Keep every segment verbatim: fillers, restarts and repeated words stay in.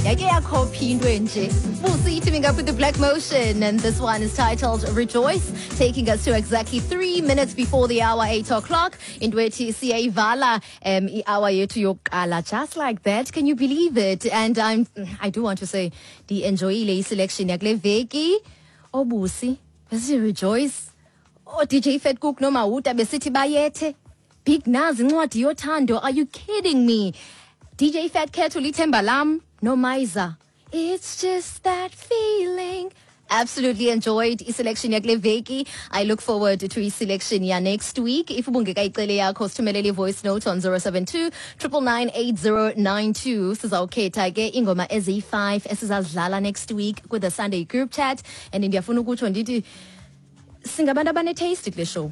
Yake yakhophi into enje. Busi teaming up with the Black Motion, and this one is titled Rejoice, taking us to exactly three minutes before the hour, eight o'clock. Into ethi siyayivala um i-hour yethu yokuqala just like that. Can you believe it? And I'm I do want to say ndi-enjoyile i-selection yakule veki. Obusi, besithi Rejoice. Oh D J Fat Cook noMawuta besithi bayethe. Big Naz, Incwadi Yothando. Are you kidding me? D J Fat Cat, Ulithemba Lam, noMaiza. It's just that feeling. Absolutely enjoyed i-selection yakule veki. I look forward to i-selection ya next week. If ubungekayicele yakho, sithumelele i-voice note on zero seven two nine nine nine eight zero nine two. Sizawukhetha ke ingoma eziyi-five esizazidlala next week with the Sunday group chat. And ndiyafuna ukutsho ndithi singabantu abane-taste kule show.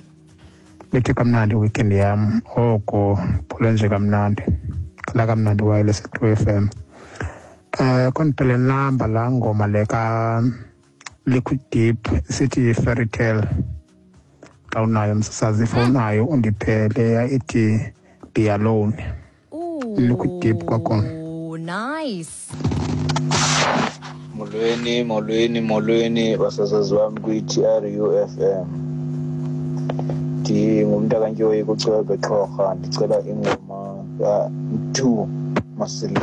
Bethe kamnandi weekend yam, oko phole nje kamnandi, khala kamnandi wireless True F M. Eh kondiphele namba laa ngoma le ka Liquid Deep sithi Fairy Tale. Xa unayo, msasazi, if unayo undiphe leya ithi Be Alone. Liquid Deep kwakhona. Ooh, nice. Molweni, molweni, molweni, basasazi bam kwi-T R U F M. Ndingumntu kuCwebe Xhorha, ndicela ingoma kaMthu Masili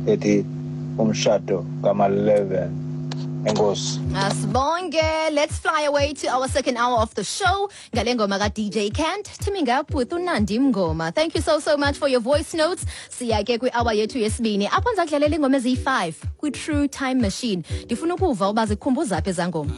ethi Umshado kama-eleven. Enkosi. Asibonge. Let's fly away to our second hour of the show. Ngale ngoma ka D J Kent teaming up with uNandi Mngoma. Thank you so so much for your voice notes. Siya ke kwi-hour yethu yesibini. Apho ndiza kudlalela ingoma eziyi-five kwi-True Time Machine. Ndifuna ukuva uba zikukhumbuza phi ezaa ngoma.